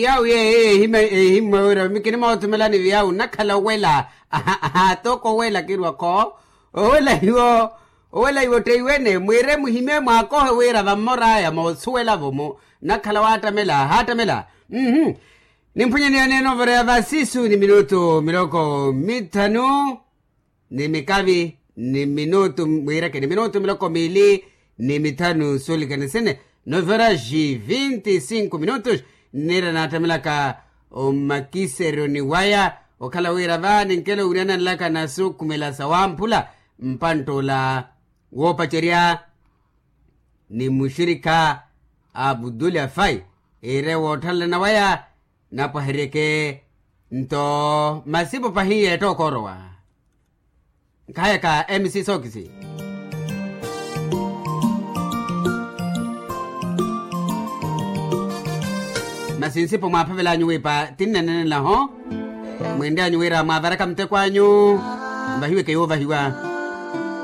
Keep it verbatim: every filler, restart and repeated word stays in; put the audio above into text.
Viyawu yeeyo ehimmwa wira mi kinimootumelani viyawu nnakhala owela. Aha aha toko owela kirwa-kho. Owela hiwo owela hiwo otteiwene mwire muhimye mwaakohe wira vammor'aya moosuwela-vo mu nnakhala waattamela haattamela. Mmm. Nimphunyaniyane novera ya vasisu ni minutu miloko mitthanu ni mikavi ni minutu mwiireke ni minutu miloko miili ni mithanu suulikene sine. Novera ji vinti sinku minutus. Nniira naattemelaka omakiseryoni waya okhala wira va ninkela owunyananlaka nasukhumela sawamphula mpantt'ula woopacerya ni muxirikha abudulafai iire wootthalalana waya. Napwaheryeke nto masipo pahi yeetta okoorowa. Nkhayaka mc sokisi masi nsipo mwaaphavel'anyu wiipa tinnenenelaho. Mwinry'anyu wira mwaavaraka muteko anyu. Nvahiweke yoovahiwa.